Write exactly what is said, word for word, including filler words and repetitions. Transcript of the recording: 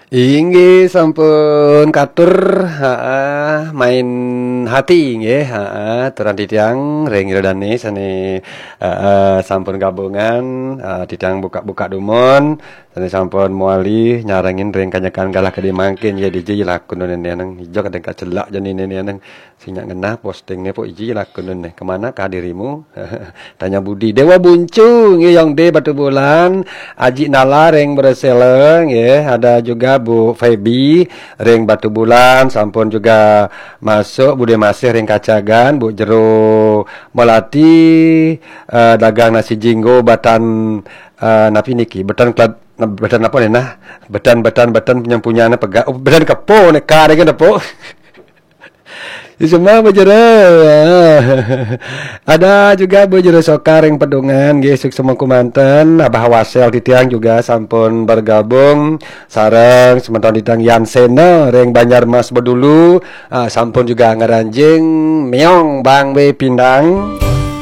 Inggih sampun katur, heeh, main hati nggih, heeh, turang titiang ring Ida Dane sane, heeh, sampun gabungan, heeh, titiang buka-buka dumun, sane sampun mawali nyarengin ring kanyekan galah kadi mangkin, ya dija lakun nene nang ijo kadang kacelak jani nene nang sing nyak ngenah posting ne po iji lakun ne. Kemana kah dirimu? Tanya Budi. Dewa Buncu, nggih, Yong De Batu Bulan, Aji Nala ring Bresela, nggih, ada juga Bu Feby ring Batu Bulan, sampun juga masuk Bude Masih ring Kacagan, Bu Jero Melati, eh, dagang nasi jinggo batan, eh, napi niki? Batan kelab-, batan apa ni nah? Batan, batan, batan punya-punya ne pega-, oh, batan kepo ne ka deh kan, Depok. Semua bejero. Ada juga bejero Soka ring Pedungan, nggih, suksma kumanten. Abah Wasel titiang juga sampun bergabung sareng semeton titiang Yan Sena ring Banjarmas Bedulu, ah, sampun juga ngranjing meong Bang We Pindang.